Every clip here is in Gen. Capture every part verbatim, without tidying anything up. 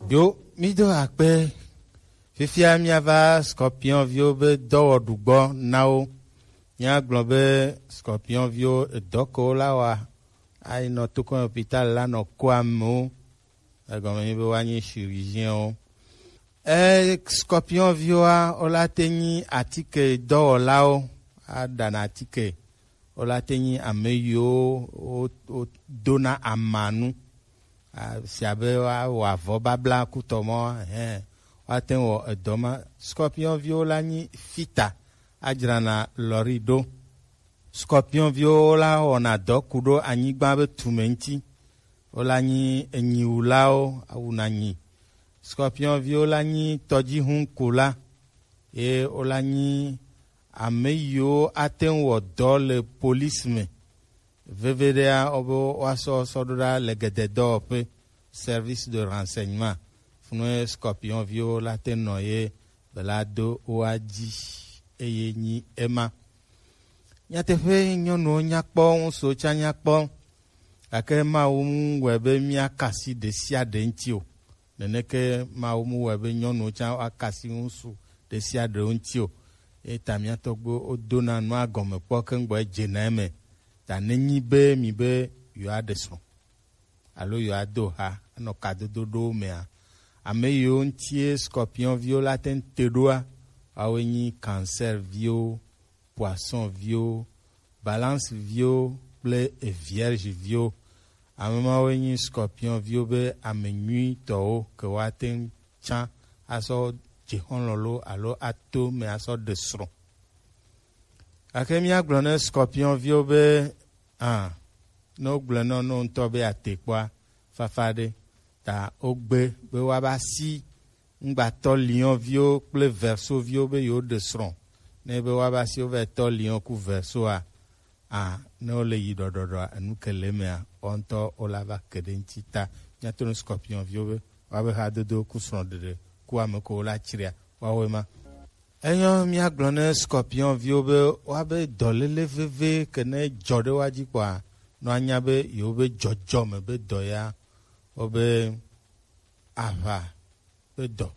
Yo, mi do akpe. Fifia miava scorpion viwo be dɔwɔɖu gbɔ na wo. Míagblɔ be scorpion viwo edɔ ke wola wa ayi nɔ tokɔn hôpital la nɔ ko amewo. Egɔme nyi be woanyi chirurgien wo. E scorpion viwoa, wola te nyi atike dɔwɔlawo, aɖana atike. Wola te nyi ame yiwo wo- wodona amanu. A- si abe woawɔ avɔ babla kutɔ mɔ, hɛn, woate ŋu wɔ edɔ ma. Scorpion viwo la nyi fita, adzrana lɔri ɖo. Scorpion viwo la wɔna dɔ ku ɖo anyigba be tume ŋuti. Wola nyi enyiwulawo, awuna nyi. Scorpion viwo la nyi tɔdzihunkula, ye wola nyi ame yiwo ate ŋu wɔ dɔ le police me. Veveɖea, wobe woasɔ sɔ ɖo ɖa le gededɔwɔƒe, service de renseignement. Funu ye scorpion viwo la te nɔ ye bela do woa dzi eye nyi ema. Nyateƒe, nyɔnuwo nyakpɔ, ŋutsuwo tsã nyakpɔ, gake Mawu mu wɔe be míakasi ɖe sia ɖe ŋuti o. Neneke Mawu mu wɔe be nyɔnuwo tsã woakasi ŋutsu ɖe sia ɖe ŋuti o. Eta mía tɔgbuiwo wodona nua gɔme kpɔ keŋ gbɔ edzena eme. Ta nenyi be mi be yewoaɖe srɔ̃ alo yewoado ha anɔ kadodo ɖowo mea, ame yiwo ŋutie scorpion viwo la te ŋu te ɖoa, woawoe nyi cancer viwo, poisson viwo, balance viwo kple vierge viwo. Ame mawoe nyi scorpion viwo be ame nyuitɔwo ke woate ŋu tsã asɔ dze xɔlɔ̃ lo alo ato me asɔ ɖe srɔ̃. Gake míagblɔ ne scorpion viwo be, ah, ne wogblɔe nɔ no ŋutɔ be ate kpɔa, fafa ɖe. Ta wogbe be woava si ŋgbatɔ lion viwo kple verso viwo be yewoɖe srɔ̃. Ne be woava si wova tɔ lion ku versoa, a ne wole yi ɖɔɖɔɖɔa, enu ke le emea, woawo ŋutɔ wola va ke ɖe ŋuti. Ta míato ne scorpion viwo be woabe hadodo ku srɔ̃ɖeɖe ku ame ko wola tsria, woawoe ma. Enyɔ míagblɔ ne scorpion viwo be woabe dɔléle veve ke ne dzɔ ɖe woa dzi kpɔa, nɔ anya be yewobe dzɔdzɔme be dɔ ya, wobe aʋa be dɔ.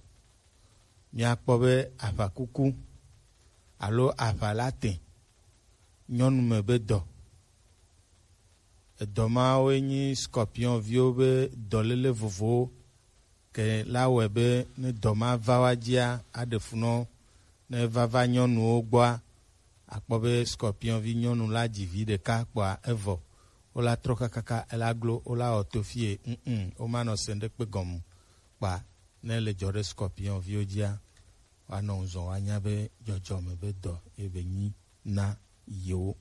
Míakpɔ be aʋakuku alo aʋa la te nyɔnu me be dɔ. Edɔ mawoe nyi scorpion viwo be dɔléle vovowo ke la wɔe be ne dɔ ma va woa dzia, aɖe fu nɔ ne vava nyɔnuwo gbɔa, akpɔ be scorpion vi nyɔnu la dzi vi ɖeka kpɔa evɔ. Wola trɔ kakaka ela glo, wola wɔ to fie, mm, womanɔ se ɖekpe gɔmu kpa. Ne le dzɔ ɖe scorpion viwo dzia, woanɔ ŋuzɔ woanya be dzɔdzɔme be dɔ ye be nyi na yewo.